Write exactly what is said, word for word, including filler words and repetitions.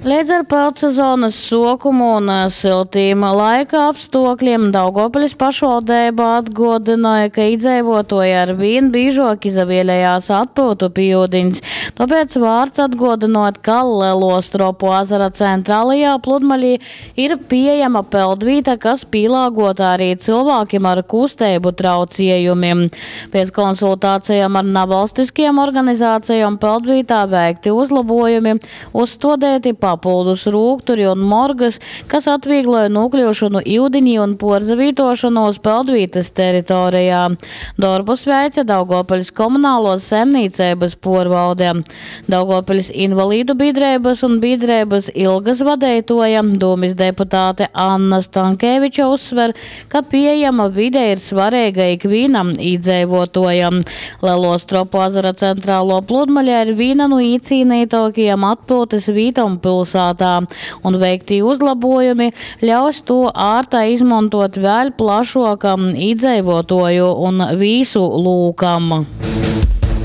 Leidz ar peldsezonas suokumu un syltīm laika apstuokļiem Daugovpiļs pašvaldeiba atguodynoj, ka idzeivuotuoji arvīn bīžuok izavielejās atpyutu pi iudiņs. Tuopēc vārts atguodynuot, ka Leluo Stropu azara centralajā pludmalī ir pīejama peldvīta, kas pīlāguota arī cylvākim ar kusteibu trauciejumim. Piec konsultācijom ar navalstiskajom organizācijom peldvītā veikti uzlobuojumi, uzstuodeiti papyldus rūkturi un morgys, kas atvīgloj nūkļyušonu iudinī un puorzavītuošonūs peldvītys teritorejā. Dorbus veice Daugovpiļs komunāluos saimnīceibys puorvalde. Daugovpiļs invalīdu bīdreibys un bīdreibys Ilgas vadeituoja, dūmis deputāte Anna Stankeviča uzsver, ka pieejama vide ir svareiga ikvīnam īdzeivuotuojam. Leluo Stropu azara centrāluo pludmale ir vīna nu īcīneituokajom atpyutys vītom pilsātā, un veiktī uzlabuojumi ļaus tū ārtai izmontuot vēļ plašuokam īdzeivuotuoju un vīsu lūkam.